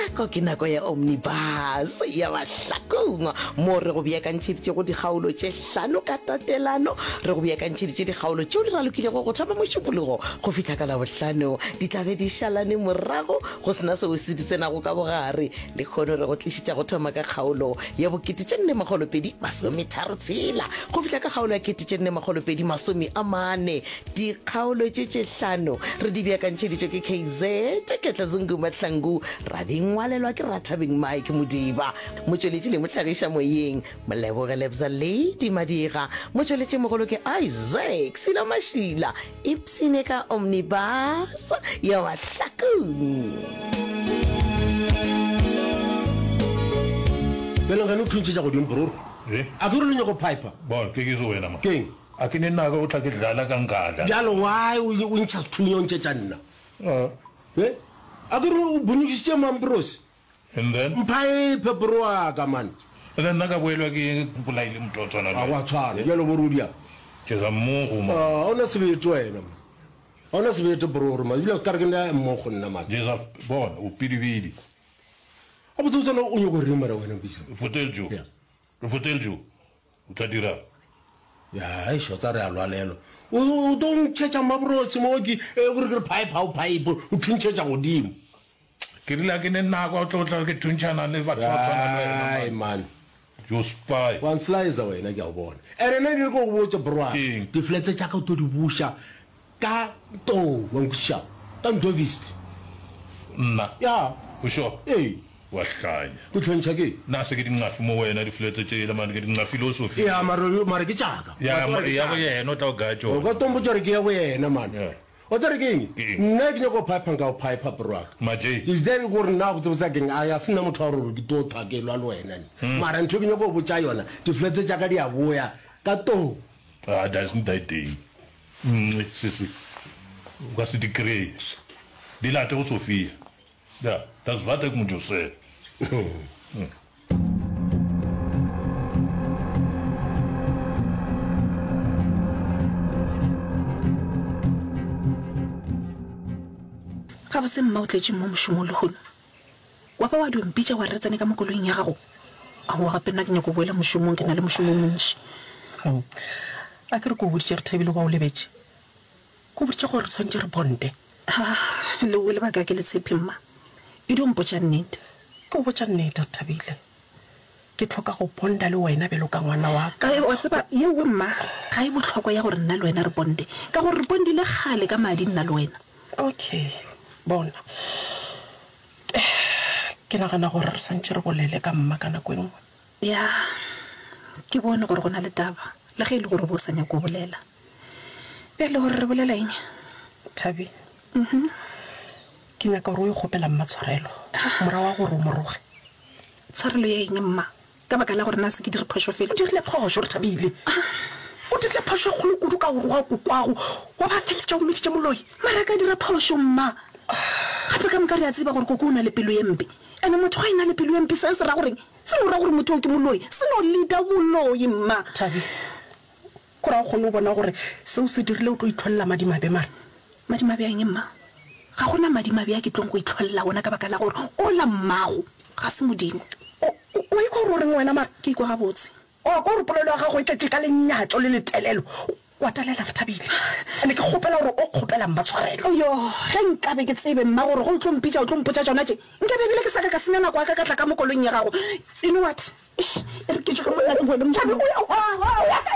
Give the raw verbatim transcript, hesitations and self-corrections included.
Nako ke nako ya Omnibus ya Mahlakong mo re go beakantšheditšego dikgaolo tše hlano ka tatelano. Re go beakantšheditše dikgaolo tšeo di ralokilego go thoma Mošupologo go fihla ka Labohlano. Di tla be di šalane morago go se na seo se di tsenago ka bogare. Lehono re go tlišetša go thoma ka kgaolo ya bokete tše nne makgolo pedi masome tharo tshela go fihla ka kgaolo ya kete tše nne makgolo pedi masome a mane. Dikgaolo tše tše hlano re di beakantšheditšwe ke K Z Ketla Zungu Mahlangu, ra di ngwalelwa ke Rathabeng Mike Modiba, motšweletši le mohlagiša moyeng Moleboge Lebza Lady Madiga, motšweletši mogolo ke Isaac Silo Mašila. Ipshine ka Omnibus ya Mahlakong. Bjale gane o thuntšhetša godimo bro. Eh? A ke re lo nyako piper? Bon, ke ke wena ma. Keng? A ke ne nako o tla ke dlala ka nkadla. Bjalo why o o ntšha sethunya o ntšhetša nna? Ah. Eh? A ke re o bonyokisitše Mambrose? And then? Mphaephe bro wa ka man. And then nna ka boelwa ke eng ke bolaile motho wa tshwana le A wena? go a tshwana. Bjalo bo re o diang? Ke za mmogo man. Ah, ga o na sebete wena man. Ga o na sebete bro re man. Ebile o ka re ke nna mmogo nna man. Ke za bona o pidibidi. Ga botse botse o nyoko reng mara wena Mpitša? Foteljo. Yeah. Foteljo. O tla dirang? Ya, eish, wa tseba re a lwalelwa. O, o tlo ntšhetša mabrotse mo ke, e, gore ke re pipe ha o pipe, o thuntšhetša godimo. Ke rile a ke ne nako ya go tlo tla ke thuntšhana le batho ba tshwana le wena, Ai, man. man. You spy. Wa nslicer wena, ke a o bona. Ene nna ke re ke go botše, bro, Keng? di-flats tša ka o tlo di buša ka tou, wa nkwešiša? Ka ndovist. Nna? Ya. O sure? Ee. Wa hlanya. Ke hlwentšha ke? Na se ke dinqafi mo wena di-flats tšela man, ke dinqafile o Sophia. Ya, mara, mara ke tša ka. Ya, Wa tseba ke ya go tša ka. yena o tla o gaya tšona. O ka tlo mpotša gore ke ya go yena man. Ya. Wa tseba gore ke eng? Ke eng? Nna ke nyaka go piper nka go piper bro wa ka. Majay. Ke tsebe gore nna go tsebotsa keng, a se nna motho wa gore ke tlo thwa ke lwa le wena ne. Mara ntho e ke nyaka go botša yona, di-flats tša ka di a boya ka tou. Ah, doesn't that day. Nngwe, sese. O ka se di kry-e. Di late go Sophia. Ja, das wat ek moet jou sê. Gabotse mma o tletše mo mošomong lehono? Wa ba wa dio mpitša wa re re tsene ka mo koloing ya gago? Aowa gape nna ke nyako boela mošomong, ke na le mošomo o montši. A ke re ke o boditše re thabile goba o lebetše? Ke o boditše gore re swanetše re bonde. Ah, leo lebaka ke le tshepe mma. E dio mpotša nnete. Ke o botša nnete, Rethabile. Ke hloka go bonda le wena bjalo ka ngwana wa ka. Wa tseba, yeo mma ga e bohlokwa ya gore nna le wena re bonde, ka gore re bondile kgale ka madi nna le wena. Okay, bona. Ke nagana gore re swantše re bolele ka mma ka nako e nngwe. Ya, ke bone gore go na le taba, le ge e le gore o be o sa nyake go bolela. Bjale gore re bolela eng? Thabi, ke nyaka gore o yo kgopela mma tshwarelo morago ga gore o mo roge. Tshwarelo ya eng, mma? Ka baka la gore na se ke dire phošo felo? O dirile phošo, Rethabile. O dirile phošo e kgolo kudu ka go roga kokwago wa ba feletša o mmiditše moloi. Mara ka dira phošo, mma. Gape ka moka re a tseba gore koko o na le pelo ye mpe. Ene motho ga e na le pelo ye mpe se se ra goreng? Se no ra gore motho o ke moloi. Se no leader boloi, mma. Thabi, kore ga o kgone go bona gore seo se dirile o tlo itlholela madimabe mara? Madimabe a eng, mma? Ga go na madimabe a ke tlong go itlholela ona ka baka la gore ola mmago ga se Modimo. O, o, o ikwa gore o reng wena mara? Ke ikwa gabotse. O kwa gore polelo ya gago e tletše ka lenyatšo le letelelo. Wa talela, Rethabile. Ene ke kgopela gore o kgopela mma tshwarelo. Oyo, ge nkabe ke tsebe, mma, gore ge o tlo mpitša o tlo mpotša tšona tše, nkabe ebile ke sa ka ka senya nako ya ka ka tla ka mo koloing ya gago. You know what? Eish, e re ke tšwe ka monna ke boele mošomong. Thabi, o ya, o ya kae?